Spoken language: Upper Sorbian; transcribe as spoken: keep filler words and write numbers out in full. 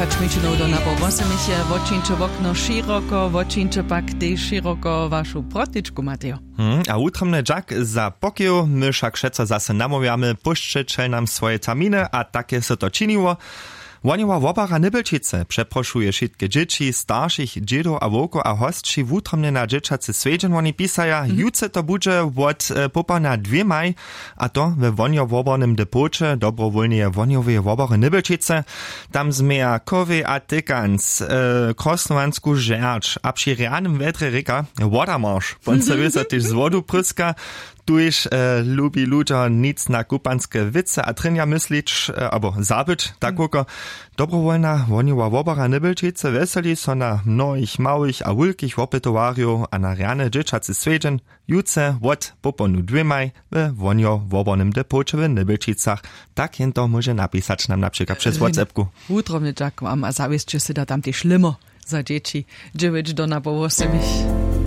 Šmičinow do napoł wosomich je wotčińće wokno šěroko wotčińće pak tež šěroko wašu protičku matejo. Hmm, a wutromny dźak za pokeju my wšak wšetco zase namołwjamy pósćećel nam swoje terminy a take so to činiło. Wohnjowa wobara nybelčicy přeprošuje wšitke dźěći staršich dźědow a wowkow a hosći wutromnje na dźěćacy swjedźeń woni pisaja jutře to budźe wot popołdnja dwěmaj. A to we wohnjowobornym depoće dobrowólneje wohnjoweje wobary nybelčicy. Tam změja kowej a tykanc krosnowansku žerč a při rjanym wjedrje rěka wodamarš poncewysa tež z wodu pryska. Tuž lubi ludźo nic na kupanske wěcy a trjenja myslić abo zabyć tak woko. Dobrowólna wohnjowa wobara nybelčicy wjeseli so na mnohich małych a wulkich wopytowarjow a na rjany dźěćacy swjedźeń jutře wot popołdnju dwěmaj we wohnjowobornym depoće w nybelčicach. Tak jen to móže napisać nam na přikład přez whatsappku. Wutrobny dźak wam a zawěsće sy da tam tež limo za dźěći dźewjeć do napoł wosomich.